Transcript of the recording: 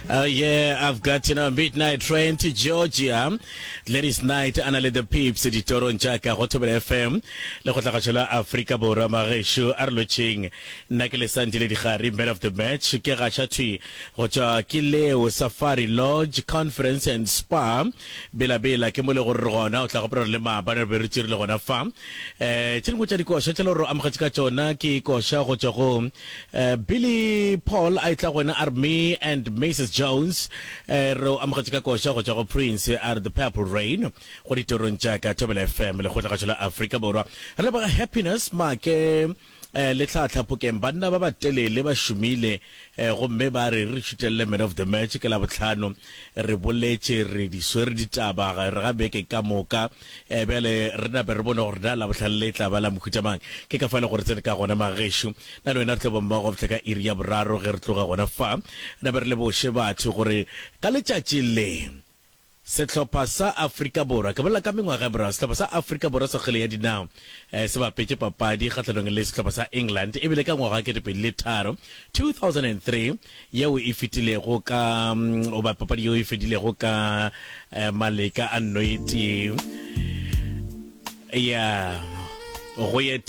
Yeah, I've got, you know, midnight train to Georgia. Ladies night, a na le the peeps ditorong tša ka go Thobela FM le go tlagatšo la Afrika Borwa magešo a re lotšheng. Nna ke Lesantile Digari, man of the match, ke gaša thwi go tšwa ke leo Safari Lodge Conference and Spa Bela Bela ke mo le gore re gona o tla gopola gore le maabane re be re tšerile gona fa. Eh tše dingwe tša dikoša tše le gore o amogetše ka tšona ke koša go tšwa go Eh, Billy Paul a etla go wena a re me and Mrs Jones eh, re o amogetše ka koša go tšwa go Prince a re The Purple Rain go ditorong tša ka Thobela FM lekgotlagašo la Afrika Borwa. Re leboga Happiness Make eh, le tlhahla Phokeng banna ba batelele ba šomile eh, gomme ba re re šutelele man of the match ke Labohlano re boletše re di swere ditaba re ga beke ka moka Eh, bjale re nape re bone gore na Labohlano le tla ba la mohuta mang. Ke ka fa e le gore tsene ka gona magešo. Na le wena re tlo ba mmogo go fihla ka iri ya boraro ge re tloga gona fa. Nape re leboše batho gore ka letšatši le sehlopha sa Afrika Borwa, ke bolela ka mengwaga ya morago, sehlopha sa Afrika Borwa sa kgwele ya dinao eh, se bapetše papadi kgahlanong le sehlopha sa England e bile ka ngwaga wa 2003, 2003, yeo e fetilego ka goba papadi yeo e fedilego ka eh, maleka a nno e tee ya go ye tee.